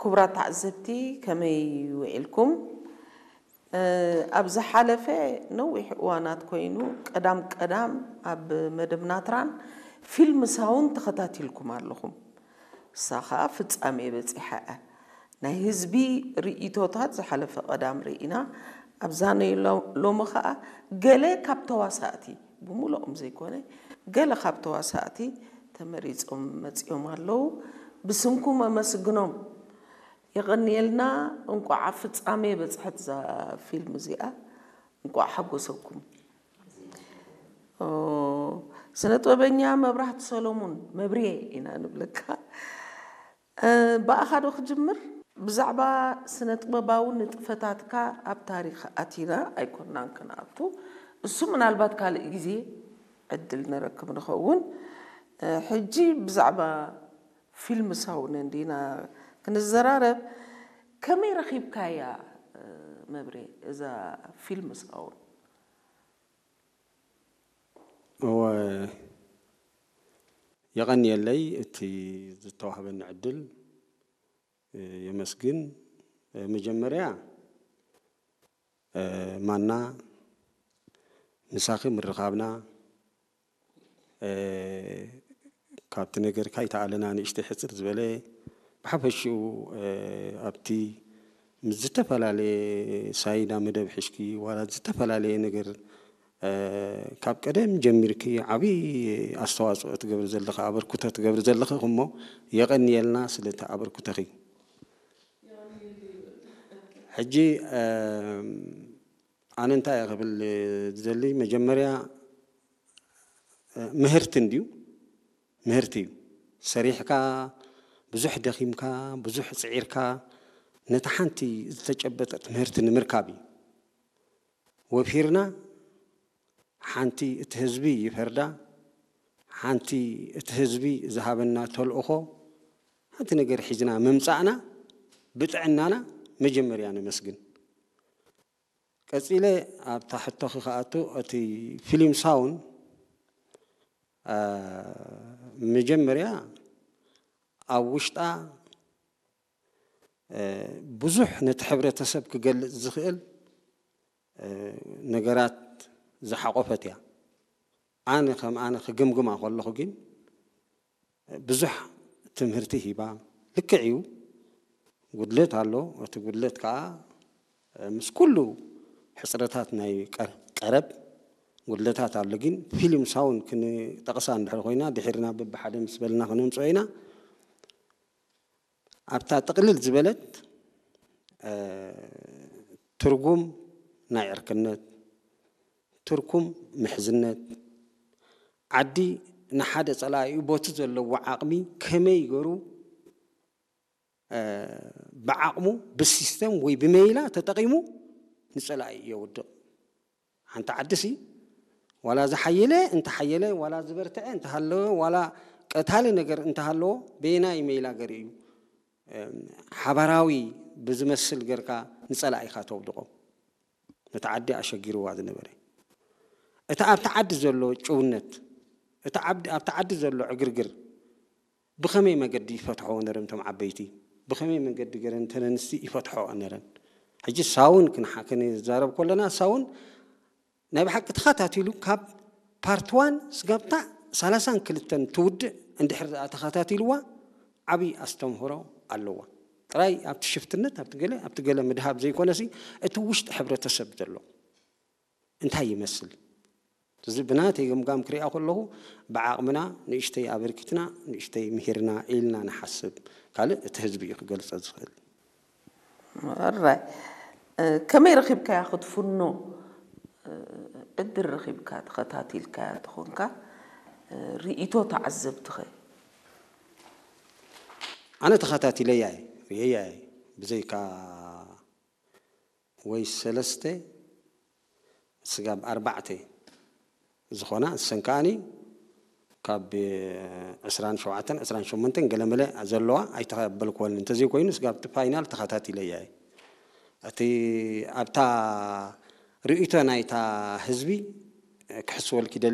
ክቡራት ተዓዘብቲ፣ ከመይ ውዒልኩም? ኣብ ዝሓለፈ ነዊሕ እዋናት ኮይኑ፣ ቀዳም ቀዳም ኣብ መደብ ናትራን ፊልም ሳውን ተኸታቲልኩም ኣለኹም። እሳ ኸኣ ፍጻሜ በጺሓ እያ። ናይ ህዝቢ ርእይቶታት ዝሓለፈ ቀዳም ርኢና። ኣብዛ ናይ ሎ-፣ ሎሚ ኸኣ ገለ ካብ ተዋሳእቲ፣ ብምሉኦም ዘይኮነ፣ ገለ ካብ ተዋሳእቲ ተመሪጾም መጺኦም ኣለዉ። ብስምኩም ኣመስግኖም። የቐንየልና። እንቋዕ ኣብ ፍጻሜ በጽሐት እዛ ፊልም እዚኣ። እንቋዕ ሓጎሰኩም። ኦ፣ ስነ ጥበበኛ መብራህቲ ሰሎሙን፣ መብርየ ኢና ንብለካ። እ፣ ብኣኻ ዶ ክጅምር? ብዛዕባ ስነ ጥበባዊ ንጥፈታትካ ኣብ ታሪኽ ኣቲና ኣይኮናን ክንኣቱ። እሱ ምናልባት ካልእ ግዜ ዕድል ንረክብ ንኸውን። እ፣ ሕጂ ብዛዕባ ፊልም ሳውን እንዲና ክንዘራረብ። ከመይ ረኺብካያ፣ እ፣ መብሬ፣ እዛ ፊልም ሳውን? እወ፣ የቐንየለይ እቲ ዝተዋህበኒ ዕድል፣ እ፣ የመስግን። እ፣ መጀመርያ፣ እ፣ ማና ምሳኺ ምርኻብና፣ እ፣ ካብቲ ነገርካ ይተኣለና ንእሽተይ ሕጽር ዝበለ ብሓፈሽኡ፣ እ፣ ኣብቲ ምስ ዝተፈላለየ ሳይዳ መደብ ሕሽኪ ዋላ ዝተፈላለየ ነገር፣ እ፣ ካብ ቀደም ጀሚርኪ ዓብዪ ኣስተዋፅኦ ትገብሪ ዘለኺ፣ ኣበርክቶ ትገብሪ ዘለኺ እሞ የቐንየልና ስለቲ ኣበርክቶኺ። ሕጂ፣ እ፣ ኣነ እንታይ እየ ክብል ዝደሊ፣ መጀመርያ፣ እ፣ ምህርቲ እንድዩ፣ ምህርቲ እዩ። ሰሪሕካ፣ ብዙሕ ደኺምካ፣ ብዙሕ ጽዒርካ፣ ነታ ሓንቲ ዝተጨበጠት ምህርቲ ንምርካብ እዩ። ወፊርና፣ ሓንቲ እቲ ህዝቢ ይፈርዳ፣ ሓንቲ እቲ ህዝቢ ዝሃበና ተልእኾ፣ ሓንቲ ነገር ሒዝና ምምጻእና፣ ብጥዕናና መጀመርያ ነመስግን። ቀጺለ ኣብታ ሕቶኺ ክኣቱ፣ እቲ ፊልም ሳውን፣ እ፣ መጀመርያ ኣብ ውሽጣ፣ እ፣ ብዙሕ ነቲ ሕብረተሰብ ክገልጽ ዝኽእል፣ እ፣ ነገራት ዝሓቖፈት እያ። ኣነ ከም ኣነ ክግምግማ ከለኹ ግን፣ ብዙሕ ትምህርቲ ሂባ። ልክዕ እዩ፣ ጉድለት ኣሎ። እቲ ጉድለት ከኣ ምስ ኩሉ ሕጽረታት ናይ ቀ-፣ ቀረብ ጉድለታት ኣሎ። ግን ፊልም ሳውን ክንጠቕሳ እንድሕር ኮይና፣ ድሒርና በብሓደ ምስ በልና ክነምጽኦ ኢና። ኣብታ ጥቕልል ዝበለት፣ እ፣ ትርጉም ናይ ዕርክነት፣ ትርኩም ምሕዝነት፣ ዓዲ ንሓደ ጸላኢኡ ቦቲ ዘለዎ ዓቕሚ ከመይ ገሩ፣ እ፣ ብዓቕሙ ብሲስተም ወይ ብመይላ ተጠቒሙ ንጸላኢ የውድቕ። ሓንቲ ዓድሲ ዋላ ዝሓየለ እንተሓየለ፣ ዋላ ዝበርትዐ እንተሃለወ፣ ዋላ ቀታሊ ነገር እንተሃለዎ፣ በየናይ መይላ ገር እዩ፣ እ፣ ሓባራዊ ብዝመስል ገርካ ንጸላኢኻ ተውድቖ። ነቲ ዓዲ ኣሸጊርዋ ዝነበረ። እቲ ኣብቲ ዓዲ ዘሎ ጭውነት፣ እቲ ዓዲ፣ ኣብቲ ዓዲ ዘሎ ዕግርግር ብኸመይ መገዲ ይፈትሖ ነረን እቶም ዓበይቲ? ብኸመይ መገዲ ገረን እተን ኣንስቲ ይፈትሖ ነረን? ሕጂ ሳውን ክንሓ-፣ ክንዛረብ ከለና ሳውን ናይ ብሓቂ ተኸታቲሉ ካብ ፓርት ዋን ስጋብታ ሰላሳን ክልተን ትውድእ እንድሕር ደኣ ተኸታቲልዋ ዓብዪ ኣስተምህሮ ኣለዋ። ጥራይ ኣብቲ ሽፍትነት፣ ኣብቲ ገለ፣ ኣብቲ ገለ ምድሃብ ዘይኮነሲ፣ እቲ ውሽጢ ሕብረተሰብ ዘሎ እንታይ ይመስል? እዚ ብናተይ ገምጋም ክሪኣ ከለኹ፣ ብዓቕምና ንእሽተይ ኣበርኪትና፣ ንእሽተይ ምሂርና ኢልና ንሓስብ። ካልእ እቲ ህዝቢ እዩ ክገልጸ ዝኽእል። ራይ፣ እ፣ ከመይ ረኺብካያ ክትፍኖ? እ፣ ዕድል ረኺብካ ተኸታቲልካያ ተኾንካ፣ እ፣ ርእይቶ ተዓዘብትኸ? ኣነ ተኸታቲለያ እየ፣ ርእየያ እየ። ብዘይካ ወይ ሰለስተ ስጋብ ኣርባዕተ ዝኾና፣ እሰን ከኣኒ ካብ ዕስራን ሸውዓተን ዕስራን ሸሞንተን ገለመለ ዘለዋ ኣይተቐበልክወን። እንተዘይኮይኑ ስጋብ እቲ ፋይናል ተኸታቲለያ እየ። እቲ ኣብታ ርእይቶ ናይታ ህዝቢ ክሕስወልኪ